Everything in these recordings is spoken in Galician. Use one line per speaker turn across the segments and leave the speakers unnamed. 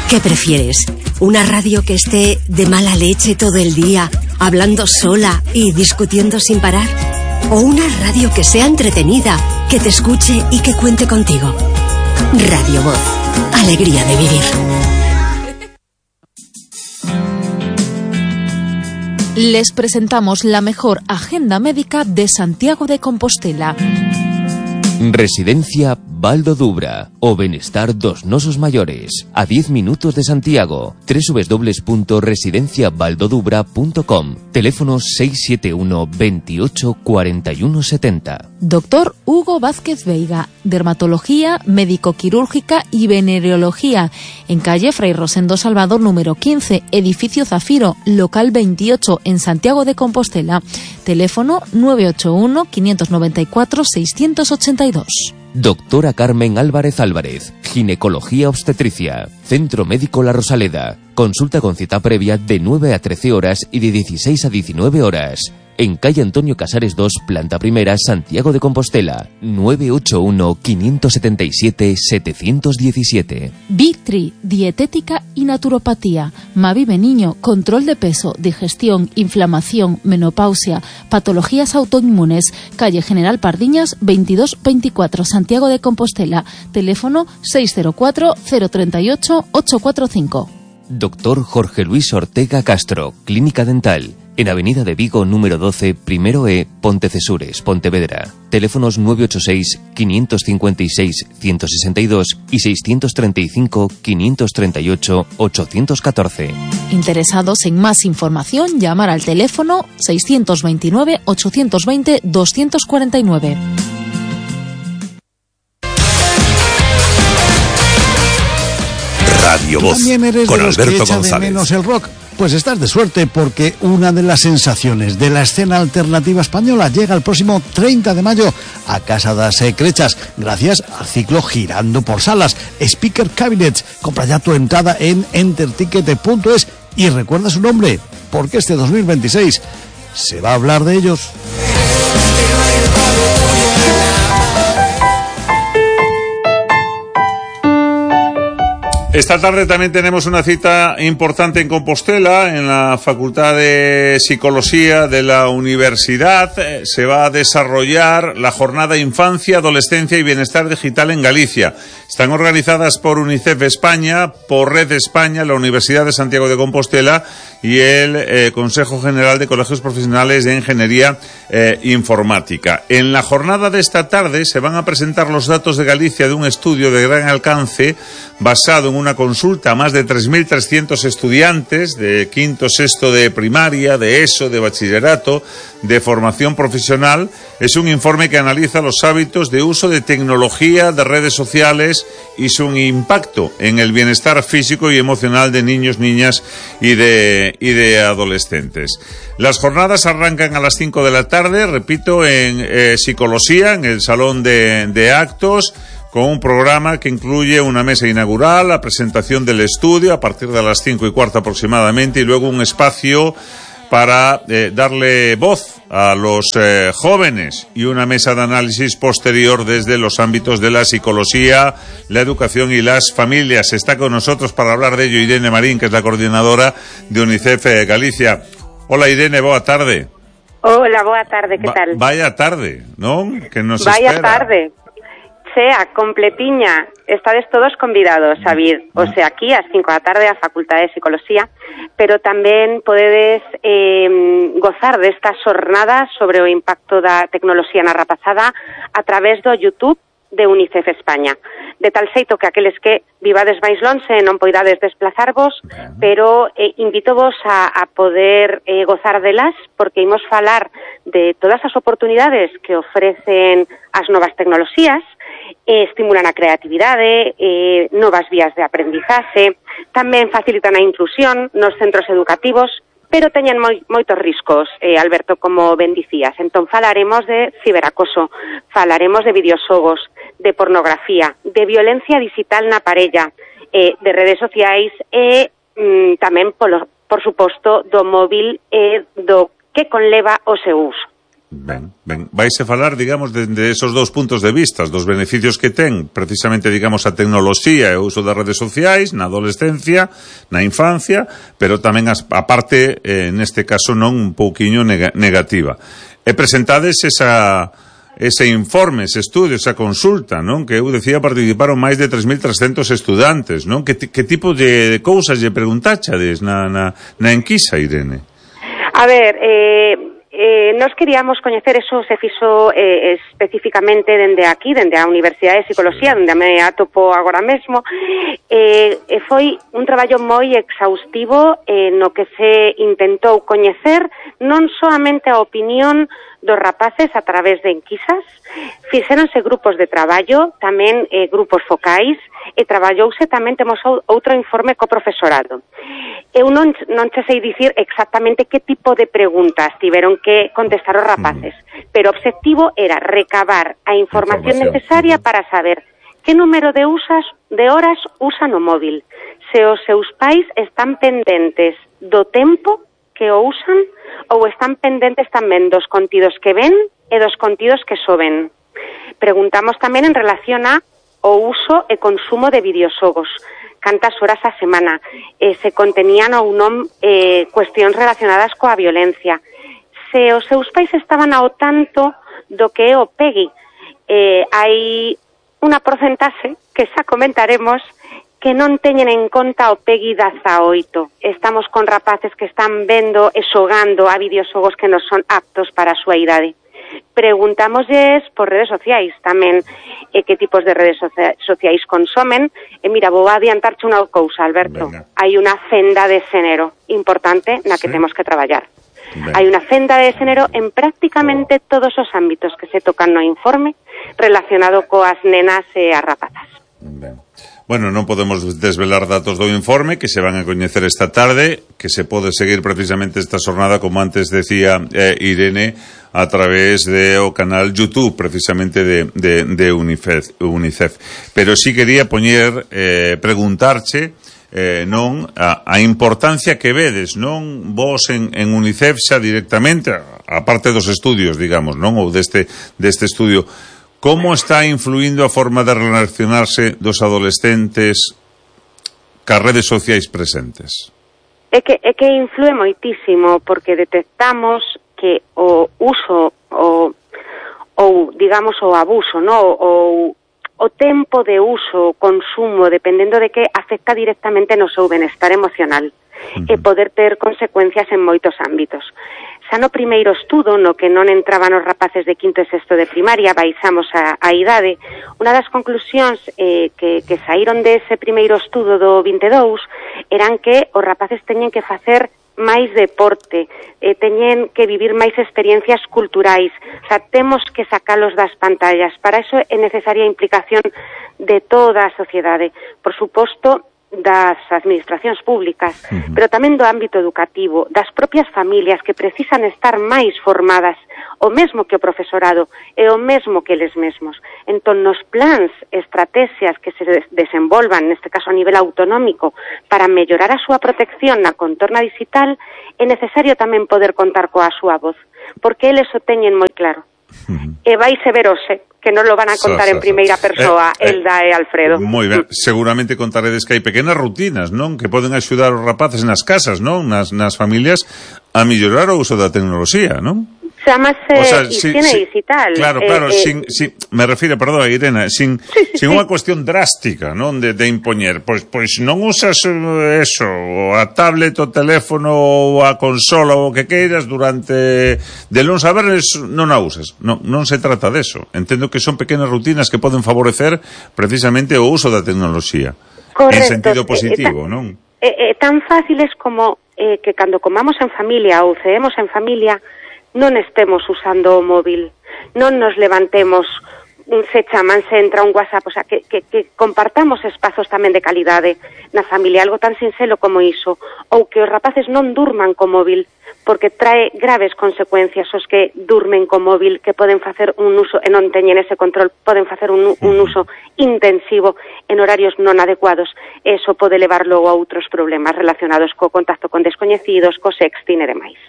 ¿Qué prefieres? ¿Una radio que esté de mala leche todo el día, hablando sola y discutiendo sin parar? ¿O una radio que sea entretenida, que te escuche y que cuente contigo? Radio Voz. Alegría de vivir.
Les presentamos la mejor agenda médica de Santiago de Compostela.
Residencia Valdo Dubra o Benestar dos Nosos Mayores, a 10 minutos de Santiago. www.residenciavaldodubra.com. Teléfono 671 28 41 70.
Doctor Hugo Vázquez Veiga, dermatología, médico-quirúrgica y venereología, en calle Fray Rosendo Salvador número 15, edificio Zafiro, local 28, en Santiago de Compostela. Teléfono 981 594 682.
Doctora Carmen Álvarez Álvarez, ginecología obstetricia, Centro Médico La Rosaleda. Consulta con cita previa de 9 a 13 horas y de 16 a 19 horas. En calle Antonio Casares 2, planta primera, Santiago de Compostela. 981 577 717.
Vitri, dietética y naturopatía. Mavive Niño, control de peso, digestión, inflamación, menopausia, patologías autoinmunes. Calle General Pardiñas 2224, Santiago de Compostela. Teléfono 604 038 845.
Doctor Jorge Luis Ortega Castro, Clínica Dental. En Avenida de Vigo, número 12, primero E, Pontecesures, Pontevedra. Teléfonos 986 556 162 y 635 538 814.
Interesados en más información, llamar al teléfono 629 820 249.
Radio Voz,
¿También eres
con
de los
Alberto
que echa
González.
de menos el rock? Pues estás de suerte, porque una de las sensaciones de la escena alternativa española llega el próximo 30 de mayo a Casa das Crechas, gracias al ciclo Girando por Salas, Speaker Cabinets. Compra ya tu entrada en enterticket.es y recuerda su nombre, porque este 2026 se va a hablar de ellos.
Esta tarde también tenemos una cita importante en Compostela, en la Facultad de Psicología de la Universidad. Se va a desarrollar la jornada Infancia, Adolescencia y Bienestar Digital en Galicia. Están organizadas por UNICEF España, por Red España, la Universidad de Santiago de Compostela y el Consejo General de Colegios Profesionales de Ingeniería Informática. En la jornada de esta tarde se van a presentar los datos de Galicia de un estudio de gran alcance basado en una consulta a más de 3.300 estudiantes de quinto, sexto de primaria, de ESO, de bachillerato, de formación profesional. Es un informe que analiza los hábitos de uso de tecnología, de redes sociales y su impacto en el bienestar físico y emocional de niños, niñas y de adolescentes. Las jornadas arrancan a las 5 de la tarde, repito, en Psicología, en el Salón de Actos, con un programa que incluye una mesa inaugural, la presentación del estudio a partir de las 5:15 aproximadamente, y luego un espacio para darle voz a los jóvenes y una mesa de análisis posterior desde los ámbitos de la psicología, la educación y las familias. Está con nosotros para hablar de ello Irene Marín, que es la coordinadora de UNICEF Galicia. Hola Irene, boa tarde.
Hola, boa tarde, ¿qué tal?
Vaya tarde, ¿no? Que nos
Vaya
espera.
tarde. Sea completiña, estades todos convidados a vir, o sea, aquí ás 5 da tarde á Facultade de Psicología, pero tamén podedes gozar destas xornadas sobre o impacto da tecnoloxía na rapazada a través do YouTube de UNICEF España, de tal xeito que aqueles que vivades máis lonxe non poidades desplazarvos, pero invítovos a poder gozar delas, porque imos falar de todas as oportunidades que ofrecen as novas tecnoloxías, estimulan a creatividade, novas vías de aprendizaxe, tamén facilitan a inclusión nos centros educativos, pero teñen moitos riscos, Alberto, como ben dicías. Entón falaremos de ciberacoso, falaremos de videoxogos, de pornografía, de violencia digital na parella, de redes sociais e tamén, por suposto, do móvil e do que conleva o seu uso.
Vais a falar, digamos, de esos dous puntos de vista, dos beneficios que ten precisamente, digamos, a tecnoloxía e o uso das redes sociais na adolescencia, na infancia, pero tamén a parte, neste caso non un pouquiño negativa. E presentades ese informe, ese estudio, esa consulta, non? Que eu decía participaron máis de 3.300 estudantes, non? Que tipo de cousas lle preguntáchades na enquisa, Irene?
A ver, nos queríamos coñecer, eso se fixo especificamente dende aquí, dende a Universidade de Psicología, onde me atopo agora mesmo, foi un traballo moi exhaustivo no que se intentou coñecer non soamente a opinión dos rapaces a través de enquisas, fixéronse grupos de traballo, tamén grupos focais, e traballouse tamén, temos outro informe co profesorado. Eu non che sei dicir exactamente que tipo de preguntas tiveron que contestar os rapaces, pero o obxectivo era recabar a información necesaria para saber que número de horas usan o móvil, se os seus pais están pendentes do tempo que o usan ou están pendentes tamén dos contidos que ven e dos contidos que soben. Preguntamos tamén en relación a o uso e consumo de videoxogos, cantas horas a semana, se contenían ou non cuestións relacionadas coa violencia, se os seus pais estaban ao tanto do que é o PEGI. Hai unha porcentaxe que xa comentaremos que non teñen en conta o PEGI 18. Estamos con rapaces que están vendo e xogando a videoxogos que non son aptos para a súa idade. Preguntámoslles por redes sociais tamén que tipos de redes sociais consomen. E mira, vou adiantarche unha cousa, Alberto.
Venga.
Hai unha fenda de xénero importante na que temos que traballar. Venga. Hai unha fenda de xénero en prácticamente todos os ámbitos que se tocan no informe relacionado coas nenas e as rapazas.
Ben. Bueno, non podemos desvelar datos do informe que se van a coñecer esta tarde, que se pode seguir precisamente esta xornada, como antes decía Irene, a través de o canal YouTube precisamente de UNICEF. Pero sí quería preguntarche non a importancia que vedes, non vos en UNICEF xa directamente, a parte dos estudios, digamos, non, ou deste estudio. Como está influindo a forma de relacionarse dos adolescentes cas redes sociais presentes?
É que influe moitísimo, porque detectamos que o uso ou digamos o abuso, no, ou o tempo de uso, o consumo, dependendo de que afecta directamente no seu benestar emocional e poder ter consecuencias en moitos ámbitos. Xa no primeiro estudo, no que non entraban os rapaces de quinto e sexto de primaria, baixamos a idade, unha das conclusións que saíron dese primeiro estudo do 22 eran que os rapaces teñen que facer máis deporte, teñen que vivir máis experiencias culturais, xa temos que sacalos das pantallas. Para iso é necesaria a implicación de toda a sociedade, por suposto, das administracións públicas, pero tamén do ámbito educativo, das propias familias que precisan estar máis formadas, o mesmo que o profesorado e o mesmo que eles mesmos. Entón, nos plans, estrategias que se desenvolvan, neste caso a nivel autonómico, para mellorar a súa protección na contorna digital, é necesario tamén poder contar coa súa voz, porque eles o teñen moi claro. E vaise ver hoxe, que non lo van a contar en primeira persoa, Elda e Alfredo.
Moi ben, seguramente contaredes que hai pequenas rutinas, non? Que poden axudar os rapaces nas casas, non? Nas familias a mellorar o uso da tecnoloxía, non?
Chamase higiene digital.
Claro, sin me refiro, perdón, Irene, sin unha cuestión drástica, non, de impoñer, pois non usas eso, a tablet, o teléfono, ou a consola, ou o que queiras durante de luns a venres, non a usas. Non se trata deso. Entendo que son pequenas rutinas que poden favorecer precisamente o uso da tecnoloxía. Correcto. En sentido positivo, non?
Tan fáciles como que cando comamos en familia ou ceemos en familia non estemos usando o móvil, non nos levantemos, se chaman, se entra un WhatsApp, o sea, que compartamos espazos tamén de calidade na familia, algo tan sinxelo como iso, ou que os rapaces non durman co móvil, porque trae graves consecuencias os que durmen co móvil, que poden facer un uso, e non teñen ese control, poden facer un uso intensivo en horarios non adecuados. Eso pode levar logo a outros problemas relacionados co contacto con descoñecidos, co sexting e demais.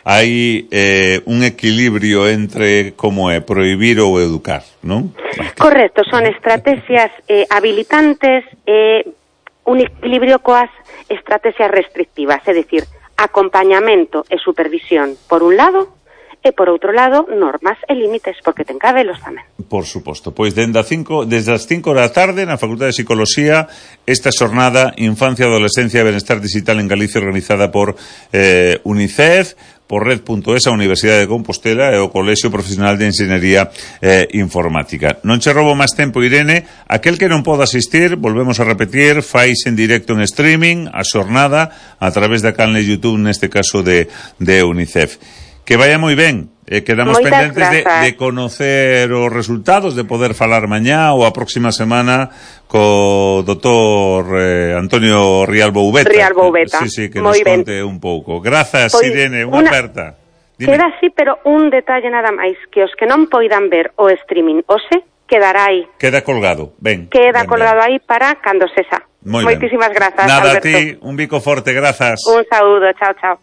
Hai un equilibrio entre como é prohibir ou educar, non?
Correcto, son estrategias habilitantes e un equilibrio coas estrategias restrictivas, é dicir, acompañamento e supervisión por un lado e por outro lado normas e límites, porque ten que habelos tamén.
Por suposto, pois desde as 5 da tarde na Facultade de Psicología esta xornada Infancia, Adolescencia e Benestar Digital en Galicia, organizada por UNICEF, por Red.es, a Universidade de Compostela e o Colexio Profesional de Enxeñería Informática. Non che roubo máis tempo, Irene. Aquel que non poda asistir, volvemos a repetir, fais en directo en streaming a xornada a través da canle YouTube, neste caso de UNICEF. Que vaya moi ben. Quedamos
Moitas
pendentes de conocer os resultados, de poder falar mañá ou a próxima semana co doutor Antonio Rialbo Ubeta. Sí, que nos conte un pouco. Grazas, pois, Irene, unha aperta. Dime.
Queda así, pero un detalle nada máis, que os que non poidan ver o streaming hoxe, quedará aí.
Queda colgado, ben.
Queda colgado aí para cando sexa. Moitísimas grazas,
Nada,
Alberto.
a ti, un bico forte, grazas.
Un saúdo, chao, chao.